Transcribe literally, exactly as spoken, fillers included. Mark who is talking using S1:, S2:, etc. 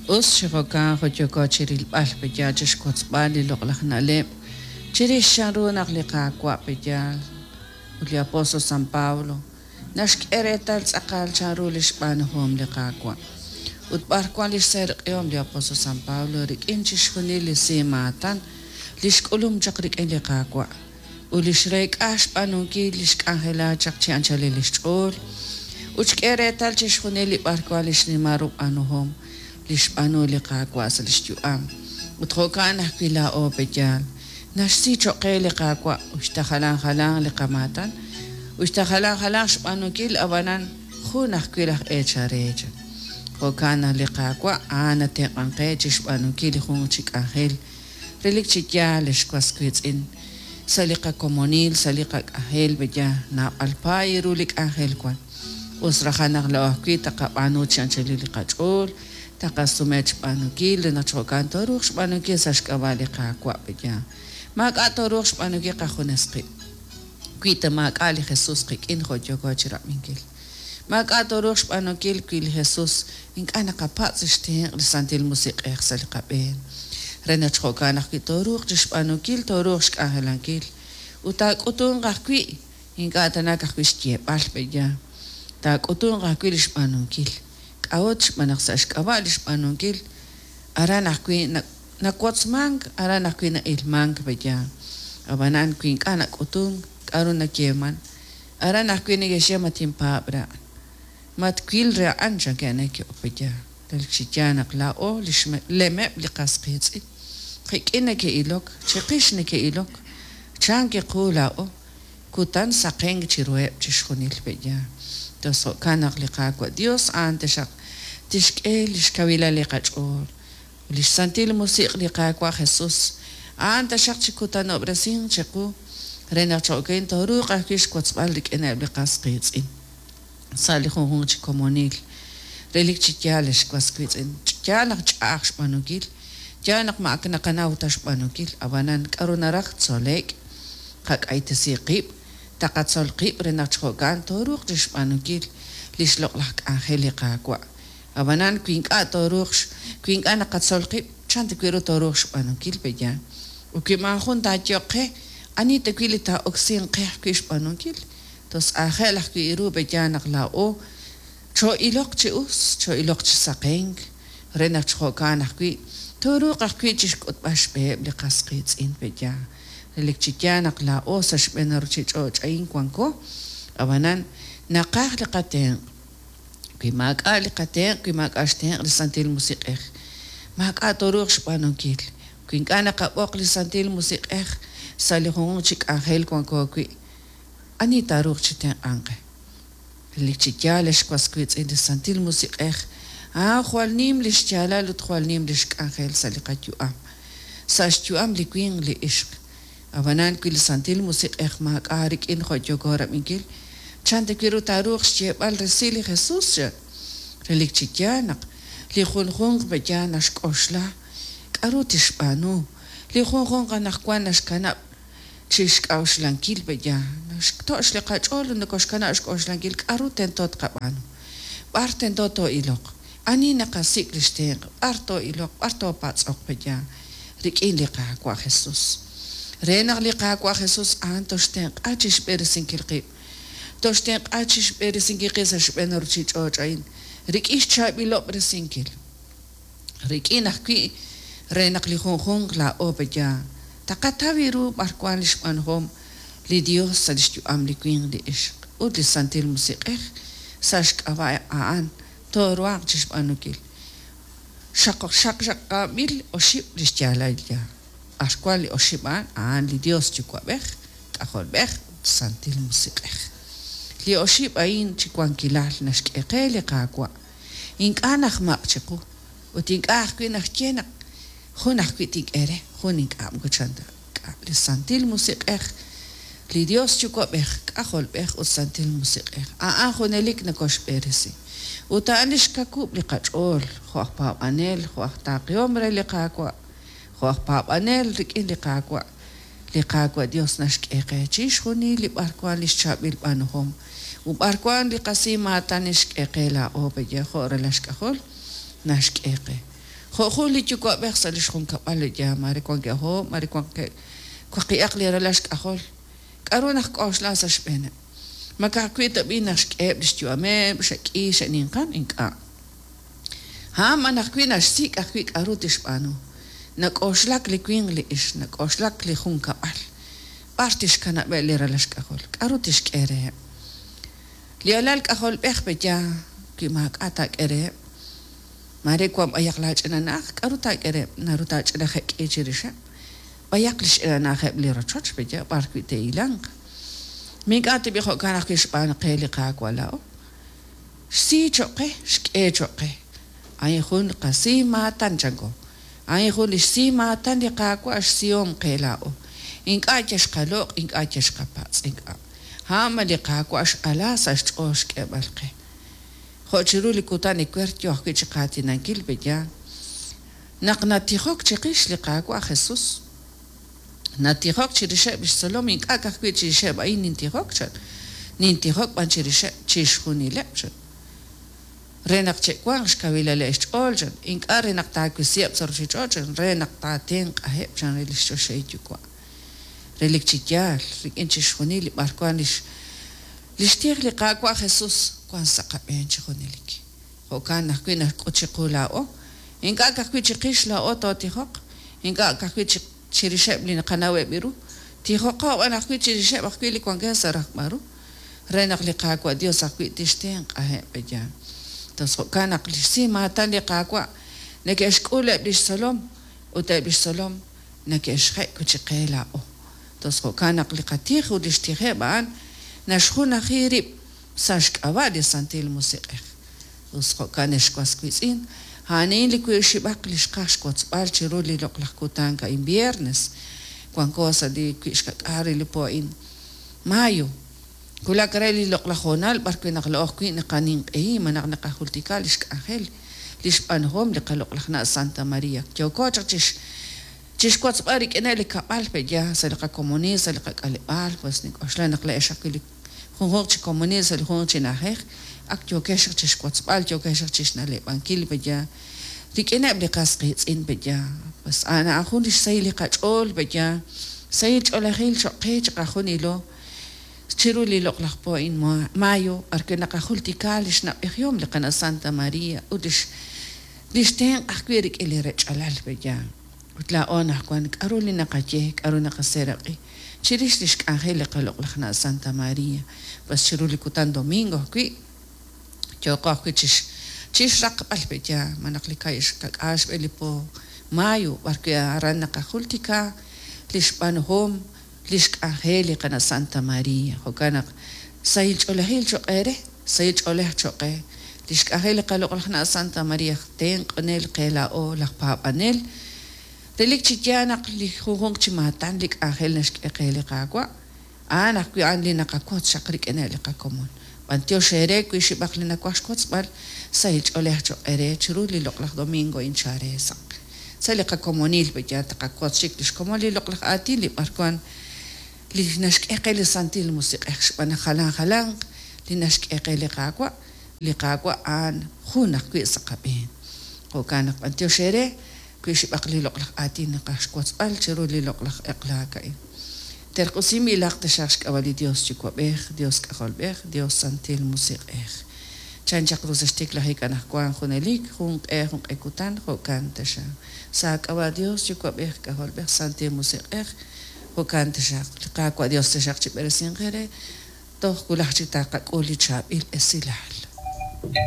S1: Us chi jo'kan jo' yooko chirilb'al pe'yaal chixwotzb'al li loq'laj na'leb' chirix chanru naq li Qaawa' pe'yaal ut li apóstol San Pablo naxk'e reetal tz'aqal chanru li xb'aanuhom li Qaawa' ut b'ar wan li xseeraq'ihom li apóstol San Pablo rik'in chixjunil li simaatan li xk'ulum chaq rik'in li Qaawa' ut li xreek'a xb'aanunkil li xk'anjela chaq chi anchalil li xch'ool ut xk'e reetal chixjunil li b'ar wan li xnimal ru b'aanuhom li xb'aanu li Qaawa' sa' li xyu'am ut jo'kan ajwi' laa'o pe'yaal naxsi cho'q qe li Qaawa' uxta jalan jalan li qamaatan uxta jalan jalan xb'aanunkil ab'anan jun ajwi' laj eechal re chan jo'kan naq li Qaawa' a'an natenq'an qe chi xb'aanunkil li jun chi k'anjel relik chi yaal ex was wiitz'in sa' li qakomonil sa' li qak'anjel pe'yaal naab'al paay ru li k'anjel wan us rajan naq laa'o ajwi' taqab'aanu chi anchalil li qach'ool taqasume xb'aanunkil re naq jo'kan tooruuq xb'aanunkil sa' xk'ab'a' li Qaawa' pe'yaal maak'a' tooruuq xb'aanunkil qajunes qib' wi ta maak'a' li Jesús qik'in jo' yooko chirab'inkil maak'a' tooruuq xb'aanunkil wi li Jesús ink'a' naqapatz' xtenq' li Santil Musiq'ej sa' li qab'een re naq jo'kan ajwi' tooruuq chixb'aanunkil tooruuq xk'anjelankil ut taak'utunq ajwi' ink'a' tanak ajwi' xyeeb'al pe'yaal taak'utunq ajwi' li xb'aanunkil k'a'ut xb'aan naq sa' xk'ab'a' li xb'aanunkil aran ajwi' nawotzmank aran ajwi' na'ilmank pe'yaal ab'anan wi ink'a' nak'utunk k'a'ru nayeeman aran ajwi' neke'xye ma tinpaab' re a'an ma twil re a'an chankeb' neke'ok pe'yaal relik chi yaal naq laa'o li xlemeb' li qas qiitz'in qik'in neke'ilok chiqix neke'ilok chan kiqu laa'o kutan saqenk chiruheb' chixjunil pe'yaal tos jo'kan naq li Qaawa' Dios a'an taxaq tixk'e li xkawilal li qach'ool li xsantil musiq' li Qaawa' Jesús a'an taxaq chi kutanob'resinq chiqu re naq cho'okin tooruuq ajwi' xwotzb'al rik'ineb' li qas qiitz'in sa' li junjunq chi komonil relik chi yaal ex was wiitz'in yaal naq ch'a'aj xb'aanunkil yaal naq ma ak naqanaw ta xb'aanunkil ab'anan k'a'ru naraj tzole'k qak'aytesi qib' taqatzol qib' re naq jo'kan tooruuq chixb'aanunkil li xloq'laj k'anjel li Qaawa' ab'anan wi ink'a' tooruuq wi ink'a' naqatzol qib' chan ta wi' ru tooruuq xb'aanunkil pe'yaal ut wi maajun taayeeq qe ani ta wi' li taa'oksinq qe ajwi' xb'aanunkil tos aajel ajwi' ru pe'yaal naq laa'o choo'iloq chi us choo'iloq chi saqenk re naq jo'kan ajwi' tooruuq ajwi' chixk'utb'al xb'eheb' li qas qiitz'in pe'yaal relik chi yaal naq laa'o sa' xb'een ruchich'och' a'in wanko ab'anan naqaj li qatenq' wi maak'a' li qatenq' wi maak'a' xtenq' li Santil Musiq'ej maak'a' tooruuq xb'aanunkil wi ink'a' naqab'oq li Santil Musiq'ej sa' li junjunq chi k'anjel wanko wi' ani taaruuq chi tenq'anq qe relik chi yaal ex was wiitz'in li Santil Musiq'ej a'an jwal nim li xyaalal ut jwal nim li xk'anjel sa' li qayu'am sa' xyu'am li winq li ixq ab'anan wi li Santil Musiq'ej maak'a' rik'in jo' yooko rab'inkil chan ta wi' ru taaruuq xyeeb'al resil li Jesús chan relik chi yaal naq li junjunq pe'yaal naxk'oxla k'a'ru tixb'aanu li junjunq anaqwan naxkanab' chi xk'a'uxlankil pe'yaal naxto'x li qach'ool ut nokoxkanab' xk'oxlankil k'a'ru tento tqab'aanu b'ar tento too'iloq ani naqasik' li xtenq' b'ar too'iloq b'ar toopatz'oq pe'yaal rik'in li Qaawa' Jesús re naq li Qaawa' Jesús a'an toxtenq'a chi xb'eresinkil qib' toxtenq'a chi xb'eresinkil qib' sa' xb'een ruchich'och' a'in rik'in xchaab'ilob'resinkil rik'in ajwi' re naq li junjunq laa'o pe'yaal taqataw ru b'ar wan li xb'aanuhom li Dios sa' li xyu'am li winq li ixq ut li Santil Musiq'ej sa' xk'ab'a' a'an tooruhanq chi xb'aanunkil xaq xaq xaqab'il oxib' li xyaalal yaal b'ar wan li oxib' a'an a'an li Dios Yuwa'b'ej K'ajolb'ej ut Santil Musiq'ej li oxib' a'in chi wankilal naxk'e qe li Qaawa' ink'a' najmaq' chiqu ut ink'a' ajwi' naxye naq jun ajwi' tink'e re jun ink'a' moko chan ta k'a' li Santil Musiq'ej li Dios Yuwa'b'ej K'ajolb'ej ut Santil Musiq'ej a'an junelik nokoxb'eresi ut a'an li xkakub' li qach'ool jo' aj paab'anel jo' aj taaqihom re li Qaawa' jo' aj paab'anel rik'in li Qaawa' li Qaawa' Dios naxk'e qe chixjunil li b'ar wan li xchaab'il b'aanuhom ut b'ar wan li qasimaatan xk'e qe laa'o pe'yaal jo' ralal xk'ajol naxk'e qe Jo' jun li yuwa'b'ej sa' li xjunkab'al li yaal, mare wankeb' oob', mare wankeb' waqib'aq li ralal xk'ajol. K'aru najk'oxla sa' xb'eeneb'? Ma ka'ajwi' tab'i' naxk'eheb' li xyu'ameb', xe'k'i, xe'ninqan? Ink'a'. A'an b'an ajwi' naxsik' ajwi' k'aru tixb'aanu. Nak'oxlak li winq li ixq, nak'oxlak li junkab'al. B'ar tixkanab'eb' li ralal xk'ajol? K'aru tixk'e reheb'? Li alal k'ajolb'ej pe'yaal wi maak'a' taak'e reheb'. Mare wan b'ayaq laach'ina na'aj, k'aru taak'e reheb'? Naru taach'ina jek'i chirixeb'. B'ayaq li xch'ina na'ajeb' li rochoch pe'yaal b'ar wi' te'hilanq. Ma ink'a' tab'i' jo'kan ajwi' xb'aan qe li Qaawa' laa'o? Xsi cho'q qe, xk'e cho'q qe. A'in jun qasi maatan chanko. A'in jun li xsi maatan li Qaawa' xsihom qe laa'o. Ink'a' yal xqaloq', ink'a' yal xqapatz', ink'a'. A'an b'an li Qaawa' x'ala sa' xch'ool xk'eeb'al qe. Jo' chiru li kutan ewer yo ajwi' chi qaatinankil pe'yaal. Naq natijok chiqix li Qaawa' Jesus, natijok chirixeb' li xtzolom, ink'a' ka'ajwi' chirixeb' a'in nintijok chan, nintijok b'an chirixeb' chixjunileb' chan. Re naq che'wanq xkawilaleb' xch'ool chan, ink'a' re naq taawisiheb' sa' ruuchich'och' chan, re naq taatenq'aheb' chan re li xchoxahil Yuwa'. Relik chi yaal, rik'in chixjunil li b'arwan lix lix tij li Qaawa' Jesus wan sa' qab'een chi junelik. Jo'kan ajwi' naxk'ut chiqu laa'o, ink'a' ka'ajwi' chiqix laa'o tootijoq, ink'a' ka'ajwi' chirixeb' li naqanaweb' ru, tijoqo b'an ajwi' chirixeb' ajwi' li wankeb' sa' rajb'al ru, re naq li Qaawa' Dios ajwi' tixtenq'aheb' pe'yaal. Entonces jo'kan naq li xsi maatan li Qaawa' neke'xk'ul eb' li xtzolom ut eb' li xtzolom neke'xjek' wi' chi qe laa'o. Entonces jo'kan naq li qatij ut li xtijeb' a'an naxjunaji rib' sa' xk'ab'a' li Santil Musiq'ej. Us jo'kan ex was wiitz'in, a'an li wiib' li xqaj xwotzb'al chiru li loq'laj kutan a'in viernes. Wanko sa' li wi' xkak'aal re li po a'in mayo. Wulak re li loq'laj hoonal b'ar wi' naq la'o ajwi' naqaninq'ehi malaj naqajultika li xk'anjel li xb'aanuhom li qaloq'laj na' Santa Maria. Yooko chaq chix chixwotzb'al rik'ineb' li kab'al pe'yaal sa' li qakomonil, sa' li qak'aleb'aal, pues nink'oxla naq la'ex ajwi' li junjunq chi komonil sa' li junjunq chi na'ajej ak yookex chaq chixwotzb'al, yookex chaq chixna'leb'ankil pe'yaal rik'ineb' li qas qiitz'in pe'yaal. Pues a'an a'an jun li xsahil li qach'ool pe'yaal, sahil ch'oolejil cho'q qe chiqajunilo chiru li loq'laj po a'in mayo b'ar wi' naqajultika li xnab'ejihom li qana' Santa Maria ut lix lix tenq' ajwi' rik'in li rech'alal pe'yaal. Ut laa'o anaqwan k'aru li naqaye, k'aru naqaseeraq'i chirix li xk'anjel li qaloq'laj na' Santa Maria. Pues chiru li kutan domingo ajwi' yooqo ajwi' chix chixraqb'al pe'yaal malaj li ka'i xkak'aal xb'e li po mayo b'ar wi' aran naqajultika li xb'aanuhom li xk'anjel li qana' Santa Maria. Jo'kan naq sahil ch'oolejil cho'q eere, sahil ch'oolej cho'q qe. Li xk'anjel li qaloq'laj na' Santa Maria tenq'onel qe laa'o laj paab'anel. Relik chi yaal naq li junjunq chi maatan li k'anjel naxk'e qe li Qaawa', a'an ajwi' a'an li naqawotz chaq rik'ineb' li qakomon. B'antiox eere wi xib'aq li nawaj xwotzb'al, sahil ch'oolej cho'q eere chiru li loq'laj domingo inchare sa'. Sa' li qakomonil pe'yaal taqawotz chik li xkomon li loq'laj aatin li b'arwan li naxk'e qe li Santil Musiq'ej xb'aan naq jalan jalanq li naxk'e qe li Qaawa', li Qaawa' a'an jun ajwi' sa' qab'een. Jo'kan naq b'antiox eere wi xib'aq li loq'laj aatin naqaj xwotzb'al chiru li loq'laj eq'laak a'in. Terq'usinb'ilaq taxaq xk'ab'a' li Dios Yuwa'b'ej, Dios K'ajolb'ej, Dios Santil Musiq'ej. Chan chaq ru sa' xtiklajik anaqwan junelik, jun q'e jun q'e kutan, jo'kan taxaq. Sa' k'ab'a' Dios Yuwa'b'ej, K'ajolb'ej, Santil Musiq'ej, jo'kan taxaq. Li Qaawa' Dios taxaq chi b'eresinq eere, toj wulaj chik taqak'ul li chaab'il esilal.